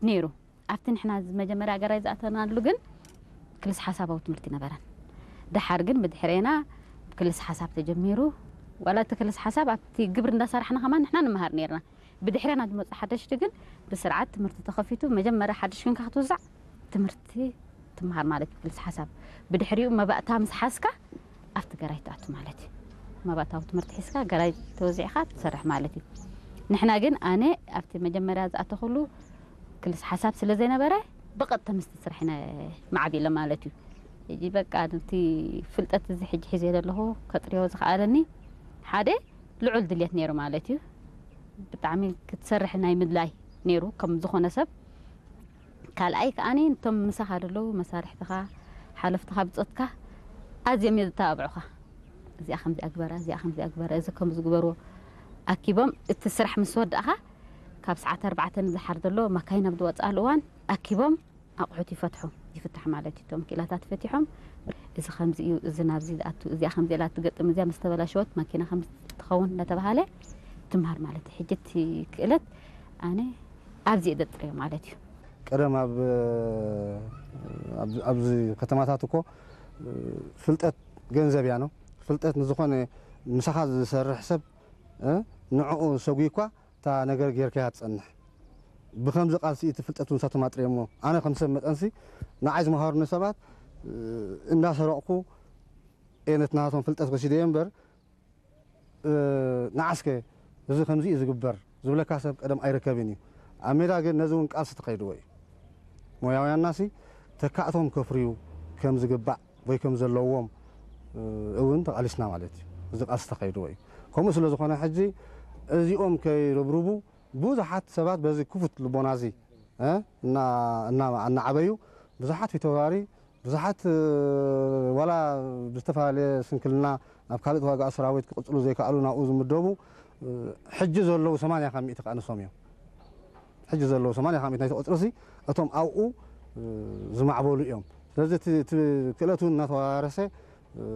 ነይሩ። ኣብቲ ንሕና መጀመርያ ገራይ ዝኣተናሉ ግን ክልስ ሓሳባዊ ትምህርቲ ነበረን። ደሓር ግን ብድሕሬና ክልስ ሓሳብ ተጀሚሩ። ዋላ እቲ ክልስ ሓሳብ ኣብቲ ግብር እንዳሰራሕና ከማን ንሕና ንመሃር ነርና። ብድሕሬና ዝመፁ ሓደሽቲ ግን ብስርዓት ትምህርቲ ተኸፊቱ መጀመርያ ሓድሽ ክንካ ክትውዛዕ ትምህርቲ ትመሃር ማለት እዩ። ክልስ ሓሳብ ብድሕሪኡ መባእታ ምስ ሓዝካ ኣብቲ ገራይ ትኣቱ ማለት እዩ። መባእታዊ ትምህርቲ ሒዝካ ገራይ ተወዚዕካ ትሰርሕ ማለት እዩ። ንሕና ግን ኣነ ኣብቲ መጀመርያ ዝኣተኹሉ ክልስ ሓሳብ ስለ ዘይነበረ ብቐጥታ ምስቲ ስራሕ ኢና ማዕቢለ ማለት እዩ። ሕጂ በቃ ነቲ ፍልጠት እዚ ሕጂ ሒዘ ዘለኹ ከጥርዮ ዝኸኣለኒ ሓደ ልዑል ድልየት ነይሩ ማለት እዩ። ብጣዕሚ ክትሰርሕ ናይ ምድላይ ነይሩ ከም ዝኾነ ሰብ። ካልኣይ ከኣኒ ነቶም ምሳኻ ዘለዉ መሳርሕትኻ ሓለፍትኻ ብፆትካ ኣዝዮም እዮም ዝተባብዑኻ። እዚኣ ከምዚኣ ግበራ፣ እዚኣ ከምዚኣ ግበራ፣ እዚ ከምዚ ግበርዎ ኣኪቦም እቲ ስራሕ ምስ ወዳእኻ ካብ ሰዓት ኣርባዕተ ንዝሓር ዘሎ ማካይን ኣብ ዝወፅኣሉ እዋን ኣኪቦም ኣቑሑት ይፈትሑ ይፍታሕ ማለት እዩ። እቶም ክኢላታት ፈቲሖም እዚ ከምዚ እዩ፣ እዚ ናብዚ ዝኣቱ፣ እዚኣ ከምዚ ኢላ ትገጥም፣ እዚኣ ምስ ተበላሸወት ማኪና ከምዚ ትኸውን እናተባሃለ ትምሃር ማለት እዩ። ሕጂ እቲ ክእለት ኣነ ኣብዚ እየ ዘጥረዮ ማለት እዩ። ቀደም ኣብ ኣብዚ ከተማታት እኮ ፍልጠት ገንዘብ እያ ነው። ፍልጠት ንዝኾነ ምሳኻ ዝሰርሕ ሰብ ንዕኡ ሰጉይ እኳ እታ ነገር ጌርካያ ትጸንሕ። ብኸምዚ ቃልሲ እቲ ፍልጠት እውን ሳቶም ኣጥርየሞ። ኣነ ከም ሰብ መጠንሲ ንዓይ ዝመሃሩኒ ሰባት እንዳሰረቕኩ እየ ነቲ ናቶም ፍልጠት ወሲደዮ እምበር ንዓስከ እዚ ከምዚ እዩ ዝግበር ዝብለካ ሰብ ቀደም ኣይርከብን እዩ። ኣብ ሜዳ ግን ነዚ እውን ቃልሲ ተኸይድዎ እዩ። ሞያውያንናሲ ተካእቶም ከፍርዩ ከም ዝግባእ ወይ ከም ዘለዎም እውን ተቓሊስና ማለት እዩ። እዚ ቃልሲ ተኸይድዎ እዩ። ከምኡ ስለ ዝኾነ ሕጂ እዚኦም ከይርብርቡ ብዙሓት ሰባት በዚ ክፉት ልቦና እዚ እናዓበዩ ብዙሓት ፊተውራሪ ብዙሓት ዋላ ብዝተፈላለየ ስንክልና ናብ ካልእ ተዋጋኢ ሰራዊት ክቕፅሉ ዘይከኣሉ ናብኡ ዝምደቡ ሕጂ ዘለዉ ሰማንያ ካብ ሚእቲ ከኣ ንሶም እዮም። ሕጂ ዘለዉ ሰማንያ ካብ ሚእቲ ናይቲ ቁፅሪ ሲ እቶም ኣብኡ ዝማዕበሉ እዮም። ስለዚ እቲ ክእለት እውን እናተወራረሰ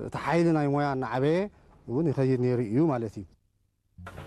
እቲ ሓይሊ ናይ ሞያ እናዓበየ እውን ይኸይድ ነይሩ እዩ ማለት እዩ።